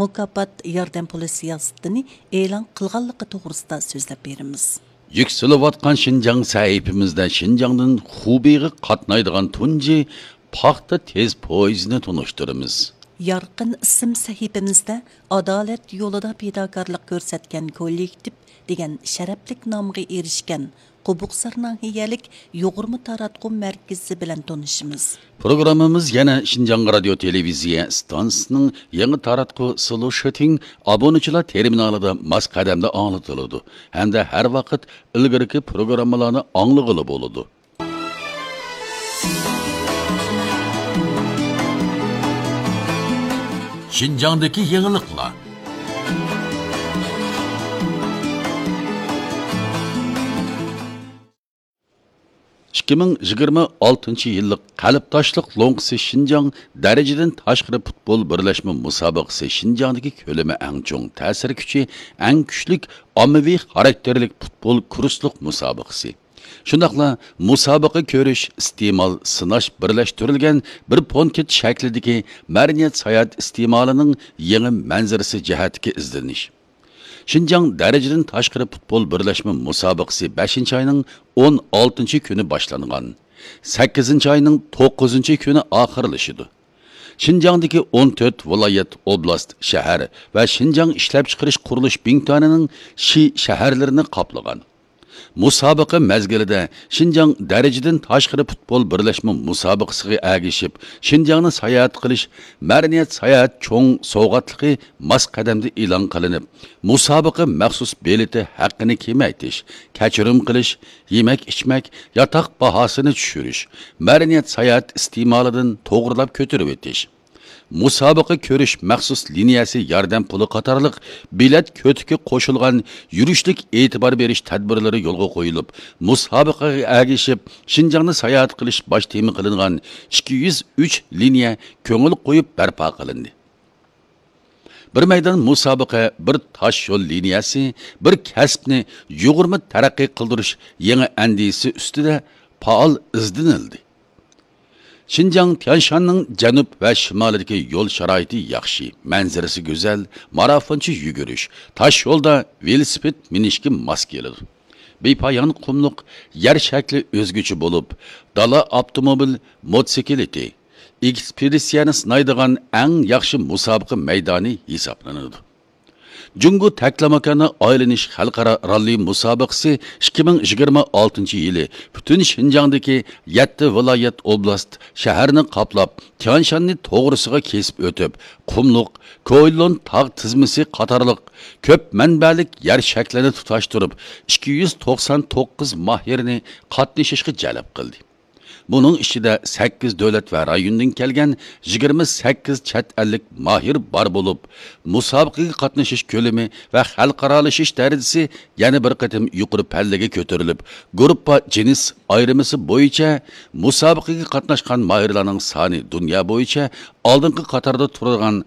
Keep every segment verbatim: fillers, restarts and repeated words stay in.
مۇكاپات ياردەم پۇلى سىياسىتىنى ئېلان قىلغانلىقى توغرىسىدا سۆزلەپ بېرىمىز. يۈكسىلىۋاتقان شىنجاڭ سەھىپىمىزدە شىنجاڭدىن خۇبېيغا قاتنايدىغان تۇنجى پاختا تېز پويىزىنى تونۇشتۇرىمىز. يارقىن ئىسىم سەھىپىمىزدە ئادالەت يولىدا پىداكارلىق كۆرسەتكەن كوللېكتىپ دېگەن شەرەپلىك نامغا ئېرىشكەن قوبۇقسار ناھىيەلىك يۇغۇرما تاراتقۇ مەركىزى بىلەن تونۇشىمىز. پروگراممىمىز يەنە شىنجاڭ رادىيو تېلېۋىزىيە ئىستانسىسىنىڭ يېڭى تاراتقۇ سلوشىتىڭ ئابۇنىچىلار تېرمىنالىدا ماس قەدەمدە ئاڭلىتىلىدۇ ھەمدە ھەر ۋاقىت ئىلگىرىكى پروگراممىلارنى ئاڭلىغىلى بولىدۇ. شىنجاڭدىكى يېڭىلىقلار. ئىككى مىڭ يىگىرمە ئالتىنچى يىللىق قەلبداشلىق لوڭقىسى شىنجاڭ دەرىجىدىن تاشقىرى پۇتبول بىرلەشمە مۇسابىقىسى شىنجاڭدىكى كۆلىمى ئەڭ چوڭ، تەسىر كۈچى ئەڭ كۈچلۈك، ئاممىۋى خاراكتېرلىك پۇتبول كۇرسلۇق مۇسابىقىسى. شۇنداقلا مۇسابىقە كۆرۈش، ئىستېمال، سىناش بىرلەشتۈرۈلگەن بىر پونكىت شەكلىدىكى مەدەنىيەت ساياھەت ئىستېمالىنىڭ يېڭى مەنزىرىسى جەھەتتىكى ئىزدىنىش. شىنجاڭ دەرىجىدىن تاشقىرى پۇتبول بىرلەشمە مۇسابىقىسى بەشىنچى ئاينىڭ ئون ئالتىنچى كۈنى باشلانغان. سەككىزىنچى ئاينىڭ توققۇزىنچى كۈنى ئاخىرلىشىدۇ. شىنجاڭدىكى ئون تۆت ۋىلايەت، ئوبلاست، شەھەر ۋە شىنجاڭ ئىشلەپچىقىرىش قۇرۇلۇش بىڭتۈەنىنىڭ شى شەھەرلىرىنى قاپلىغان. مۇسابىقە مەزگىلىدە شىنجاڭ دەرىجىدىن تاشقىرى پۇتبول بىرلەشمە مۇسابىقىسىغا ئەگىشىپ، شىنجاڭنى ساياھەت قىلىش مەدەنىيەت ساياھەت چوڭ سوۋغاتلىقى ماس قەدەمدە ئېلان قىلىنىپ، مۇسابىقە مەخسۇس بېلىتى ھەققىنى كېمەيتىش، كەچۈرۈم قىلىش، يېمەك-ئىچمەك، ياتاق باھاسىنى چۈشۈرۈش، مەدەنىيەت ساياھەت ئىستېمالىدىن توغرىلاپ كۆتۈرۈۋېتىش، مۇسابىقە كۆرۈش مەخسۇس لىنىيەسى ياردەم پۇلى قاتارلىق بېلەت كۆتىكى قوشۇلغان يۈرۈشلۈك ئېتىبار بېرىش تەدبىرلىرى يولغا قويۇلۇپ، مۇسابىقىگە ئەگىشىپ شىنجاڭنى ساياھەت قىلىش باش تېما قىلىنغان ئىككى يۈز ئۈچ لىنىيە كۆڭۈل قويۇپ بەرپا قىلىندى. بىر مەيدان مۇسابىقە، بىر تاش يول لىنىيەسى، بىر كەسىپنى يۇغۇرما تەرەققىي قىلدۇرۇش يېڭى ئەندىزىسى ئۈستىدە پائال ئىزدىنىلدى. شىنجاڭ تيانشاننىڭ جەنۇب ۋە شىمالىدىكى يول شارائىتى ياخشى، مەنزىرىسى گۈزەل، مارافونچە يۈگۈرۈش، تاش يولدا ۋېلىسىپىت مىنىشكە ماس كېلىدۇ. بىپايان قۇملۇق يەر شەكلى ئۆزگىچە بولۇپ، دالا ئاپتوموبىل، موتوسىكلىتى، ئېكسپېدىتسىيەنى سىنايدىغان ئەڭ ياخشى مۇسابىقە مەيدانى ھېسابلىنىدۇ. جۇڭگو تەكلىماكاندا ئايلىنىش خەلقئارا راللى مۇسابىقىسى ئىككى مىڭ يىگىرمە ئالتىنچى يىلى پۈتۈن شىنجاڭدىكى يەتتە ۋىلايەت، ئوبلاست، شەھەرنى قاپلاپ، تيانشاننى توغرىسىغا كېسىپ ئۆتۈپ، قۇملۇق كويلون تاغ تىزمىسى قاتارلىق كۆپ مەنبەلىك يەر شەكلىنى تۇتاشتۇرۇپ، ئىككى يۈز توقسان توققۇز ماھىرنى قاتنىشىشقا جەلپ قىلدى. بۇنىڭ ئىچىدە سەككىز دۆلەت ۋە رايوندىن كەلگەن يىگىرمە سەككىز چەت ئەللىك ماھىر بار بولۇپ، مۇسابىقىگە قاتنىشىش كۆلىمى ۋە خەلقئارالىشىش دەرىجىسى يەنە بىر قېتىم يۇقىرى پەللىگە كۆتۈرۈلۈپ، گۇرۇپپا جىنس ئايرىمىسى بويىچە مۇسابىقىگە قاتناشقان ماھىرلارنىڭ سانى دۇنيا بويىچە ئالدىنقى قاتاردا تۇرىدىغان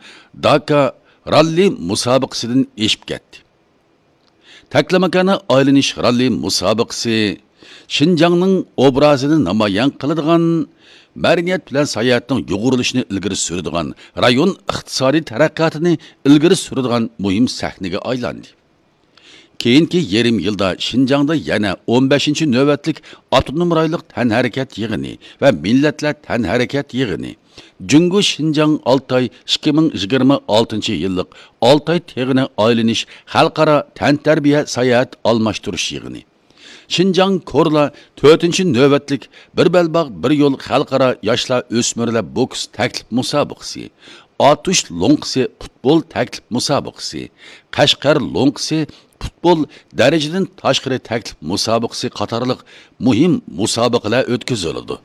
داكا راللى مۇسابىقىسىدىن ئېشىپ كەتتى. تەكلىماكاندا ئايلىنىش راللى مۇسابىقىسى شىنجاڭنىڭ ئوبرازىنى نامايان قىلىدىغان مەدەنىيەت بىلەن ساياھەتنىڭ يۇغۇرۇلۇشىنى ئىلگىرى سۈرىدىغان، رايون ئىقتىسادىي تەرەققىياتىنى ئىلگىرى سۈرىدىغان مۇھىم سەھنىگە ئايلاندى. كېيىنكى يېرىم يىلدا شىنجاڭدا يەنە ئون بەشىنچى نۆۋەتلىك ئاپتونوم رايونلۇق تەنھەرىكەت يىغىنى ۋە مىللەتلەر تەنھەرىكەت يىغىنى، جۇڭگو شىنجاڭ ئالتاي ئىككى مىڭ يىگىرمە ئالتىنچى يىللىق ئالتاي تېغىنى ئايلىنىش خەلقئارا تەنتەربىيە ساياھەت ئالماشتۇرۇش يىغىنى، شىنجاڭ كورلا تۆتىنچى نۆۋەتلىك بىر بەلباغ بىر يول خەلقئارا ياشلار ئۆسمۈرلەر بوكس تەكلىپ مۇسابىقىسى، ئاتۇش لوڭقىسى پۇتبول تەكلىپ مۇسابىقىسى، قەشقەر لوڭقىسى پۇتبول دەرىجىدىن تاشقىرى تەكلىپ مۇسابىقىسى قاتارلىق مۇھىم مۇسابىقىلەر ئۆتكۈزۈلىدۇ.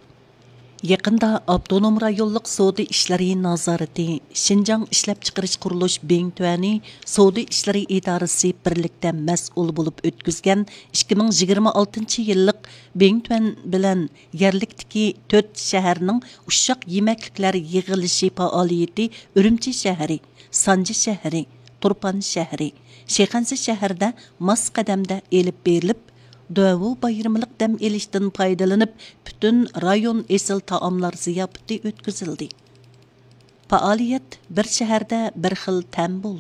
يېقىندا ئاپتونوم رايونلۇق سودا ئىشلىرى نازارىتى شىنجاڭ ئىشلەپچىقىرىش قۇرۇلۇش بىڭتۈەنى سودا ئىشلىرى ئىدارىسى بىرلىكتە مەسئۇل بولۇپ ئۆتكۈزگەن ئىككى مىڭ يىگىرمە ئالتىنچى يىللىق بىڭتۈەن بىلەن يەرلىكتىكى تۆت شەھەرنىڭ ئۇششاق يېمەكلىكلەر يىغىلىشى پائالىيىتى ئۈرۈمچى شەھىرى، سانجى شەھىرى، تۇرپان شەھىرى، شىخەنزە شەھىرىدە ماس قەدەمدە ئېلىپ بېرىلىپ، دۇەۋۇ بايرىملىق دەم ئېلىشتىن پايدىلىنىپ، پۈتۈن رايون ئېسىل تائاملار زىياپىتى ئۆتكۈزۈلدى. پائالىيەت بىر شەھەردە بىر خىل تەم بولىدۇ.